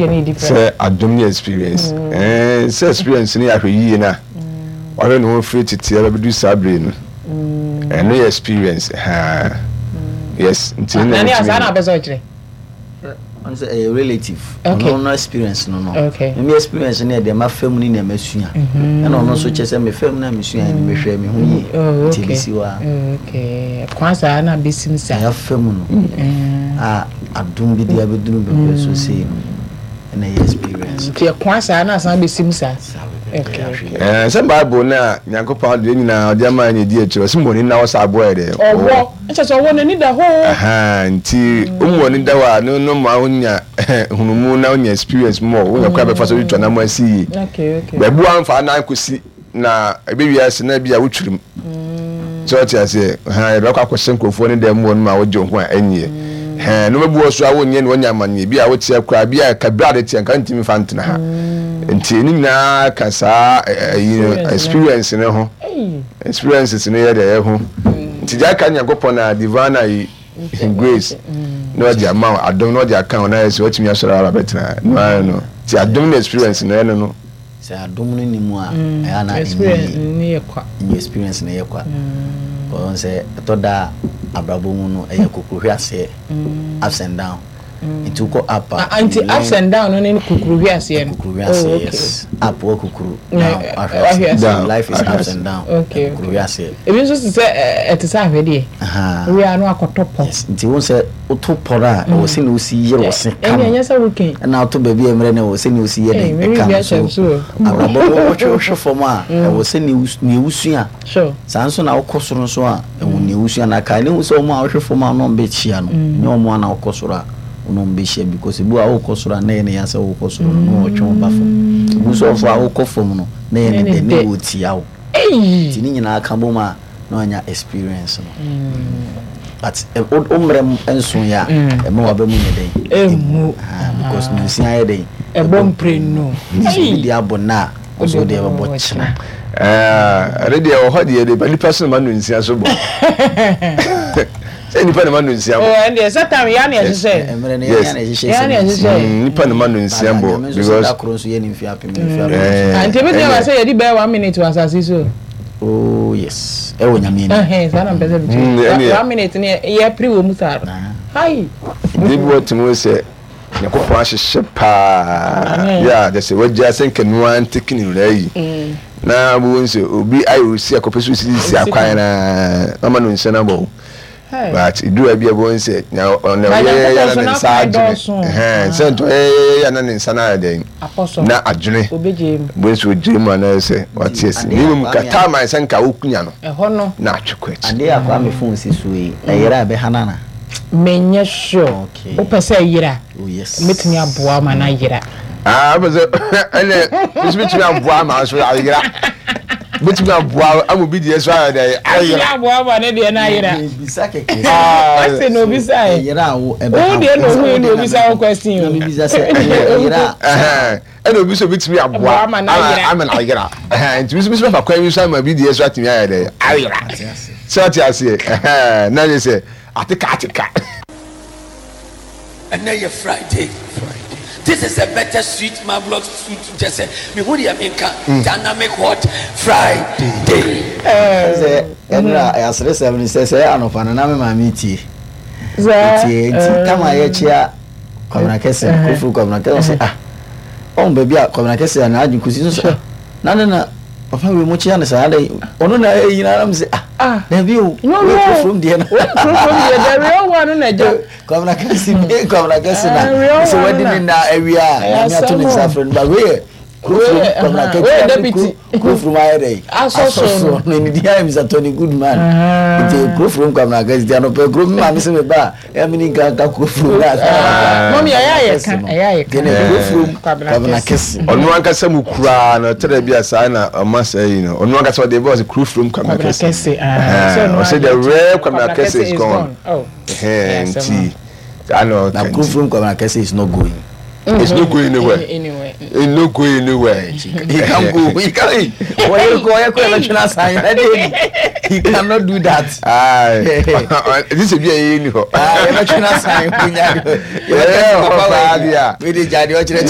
deɛ no yɛ different. Sɛ adom ne experience. Ɛɛ sɛ experience no yɛ ahwɛyie no a wahwɛ ne ho firi tete aba bɛdu saa bere no. Ɛno yɛ experience haa. Yes nti ɛno na Nane a saa metumi. na apɛ sɛ ɔkyerɛ. Ɔno sɛ ɛyɛ relative. Okay. Ɔno no experience no no. Okay. Me experience no yɛ deɛ mafa mu ne nea masua. Ɛna ɔno nso kyerɛ sɛ mefa mu na mesua no mehwɛ me ho yie. Oh, Nti okay. ɛbɛsi hɔ a. Oh, okay. Kwan saa na bɛsim saa. Nea afa mu no a adom bi de abɛduru baabi so sei no ɛna ɛyɛ experience. Nti ɛkwan saa na asan bɛsim saa. Saa bɛbɛ Okay, ahwɛ okay. yie. Ɛɛ sɛ Bible no a Nyankopɔn adeɛ nyinaa ɔde ama yɛn na ɛdi akyire ɔse mmɔni na wɔ sɛ aboa yɛ dɛ Ɔwɔ. Ɛkyɛ sɛ ɔwɔ n'ani da hɔ o. Ahaa nti womu w'ani da hɔ a no no ma wonya nhunumu na wonya experience more wonya kwan bɛfa so de tu anamɔ asi yie. Okay, okay. Baabi wamfa anan kɔsi na ɛbɛwie ase na bi a wotwirim. Sɛ ɔte aseɛ ha yɛbɛkɔ akɔhyɛ nkurɔfoɔ ne dan mu hɔ no ma wogye wo ho a ɛnyeɛ. Hɛn no bɛbu wɔ so a wonyɛ ne wanya amanneɛ bi a woteɛ koraa bi a kabira ade teɛ nka ntumi mfa ntena ha. Nti ne nyinaa ka saa ɛyi no experience no ho. Experiences no yɛ deɛ ɛho. Nti deɛ aka Nyankopɔn a divine ayi grace na ɔde ama wo adom na ɔde aka wo na ayɛ sɛ watumi asɔre aba bɛtena no ara no. Nti adom ne experience no ɛno no. Sɛ adom no nni mu a, ɛyɛ a na Experience ɛnyɛ no yɛ kwa. Ɛnyɛ experience no yɛ kwa. Wɔn sɛ ɛtɔ da a abrabɔ mu no ɛyɛ kokurohwe aseɛ, ups and down. Nti wokɔ up a, Ah, nti you learn ups and down no ne kukuruhwe aseɛ no. Kukuruhwe Oh, aseɛ, okay. yes. Up wɔ kukuru, Na, down eh, wahwe wahwe aseɛ. aseɛ. Down, Life is ahwe ups aseɛ. and down. Okay, Kukuruhwe okay. aseɛ. Ebi nso te sɛ ɛte sɛ ahwedeɛ. Aha. Wowie a na wakɔtɔ pɔ. Yes. Nti wohu sɛ woto pɔ no a, ɛwɔ sɛnea wosi yere wo se ka Ɛnni no. ɛnyɛ sɛ woken. Ɛna woto baabi a mmerɛ no ɛwɔ sɛnea wosi yɛ Ei, dɛn me ɛka biribi no. ahyɛ So me so o. abrabɔ no wotwe wohwe fam a, ɛwɔ sɛnea nea wosua. Sure. Saa nso na wokɔ soro nso a, ɛwɔ nea wosua. Na kae ne hu sɛ wɔn a wohwe fam a wɔne wɔn bɛhyia no, ɛnyɛ wɔn a na wokɔ soro a wɔne wɔn bɛhyia because ebi wɔ hɔ a wokɔ soro a na ɛyɛ ne ya sɛ wokɔ soro no na wɔtwe wo ba fam. Ebi nso wɔ hɔ a wokɔ fam no na ɛyɛ ne dɛ na wɔtia wo. Nti ne nyinaa ka bom a na wanya experience no. But wo mmerɛ nso yɛ a ɛma waba mu nyɛ dɛn? Ɛmmu. Because nonsia yɛ dɛn? Ɛbɔ mprenu. Nti sɛ obi deɛ abɔ nnɛ a, wo nso wo deɛ bɛbɔ kyena. Ɛno deɛ wɔ hɔ deɛ de nipa so na ma nonsia so bɔ. Sɛ nipa na ma nonsia bɔ. Oh, ɛndeɛ sɛ tam yɛ na ɛhyehyɛ. Mmerɛ no yɛ na ɛhyehyɛ. Yɛ na ɛhyehyɛ. Nipa na ma nonsia bɔ because. Da koro nso yɛ ne mfe apem ne mfe apem. Nti ebi tumi sɛ yɛdi bɛyɛ 1 minute wɔ asase so. Oh yes, ɛwɔ Nyame anim. Ɛhɛn saa na mpɛ sɛ bi kyerɛ. 1 minute ne yɛ pere wɔ mu saa. Hai. Ebi wɔ tumi sɛ Nyankopɔn ahyehyɛ paa yɛ a kyerɛ sɛ wagya sɛ nka noa ntekene wura yi na wobɛhu sɛ obi ayɛ osi akɔpɛ sɛ osisisi akwan na mama no nhyɛ no abɔ wo but ɛduru bi a wobɛhu sɛ ɔna ɔyɛyɛyɛ na ne nsa adwene sɛ nti ɔyɛyɛyɛ na ne nsa no ayɛ dɛn na adwene wobɛhu sɛ ɔgyina mu anaa sɛ wate asi na mmom ka time a sɛ nka wokunya no na atwe kɔ akyi. Adeɛ a Kwame phone si soɔ yi ɛyera a ɛbɛha no anaa? Menyɛ sure. Okay. Wopɛ sɛ ɛyera? Oh yes. Mɛtumi aboa ma no ayera. Ah, wopɛ sɛ ɛnɛ nso mɛtumi aboa ma nso ayera. Mɛtumi aboa ama obi deɛ so ayɛ dɛ ayera. Mɛtumi aboa ma ne deɛ no ayera. Bisa kɛkɛ. Question na obisa ɛ. Ɛyera a wo ɛbɛha wo. Deɛ na ohun yi na obisa wo question o. Na mebisa sɛ ɛyera a. Ɛna obi nso obetumi aboa ama no ayera. Nti nso nso bɛfa kwan bi so ama bi deɛ so atumi ayɛ dɛ ayera. Sɛ ɔte aseɛ na yɛ sɛ ateka ateka. Ɛnɛ yɛ Friday. This is a better sweet marvelous sweet kyɛ sɛ mehu deɛ menka dynamic hot Friday. Sɛ ɛnura aseresɛm ni sɛ sɛ anɔpa no na me maame tie. Tie nti kama yɛkyea Kwabena Kɛse no Koforo Kwabena Kɛse ɔsɛ ah ɔn baabi a Kwabena Kɛse a n'adwene kɔsi so sɛ ah na ne na papa wei mo kyea no saa dɛ ɔno na ɛyi na anam sɛ ah dabi o wei Koforo deɛ no Koforo deɛ the real one no na ɛgya Kwabena Kɛse bi Kwabena Kɛse na sɛ wadi ne na awia a Nyame ato ne nsa afrɛ no ba wei yɛ Koforo Kwabena Kɛse Koforo ayɛ dɛ asɔ so no ne din ayɛ Mr Tony Goodman nti Koforo Kwabena Kɛse ti anɔpɛ kuro mi maame sɛ me ba a ɛmi ni nka nka Koforo na mɔmi ɛyɛ ayɛ ka ɛyɛ ayɛ ka Koforo Kwabena Kɛse ɔno ankasa mu kuraa no tɛrɛ bi a saa na ɔma saa yi no ɔno ankasa ɔde bɔ ɔsɛ Koforo Kwabena Kɛse ɔsɛ the rare Kwabena Kɛse is gone nti saa na ɔka na Koforo Kwabena Kɛse is not going. It's not going anywhere. It's not going anywhere. He can't go. He can't. He cannot do that. This is a ni hɔ. Ah,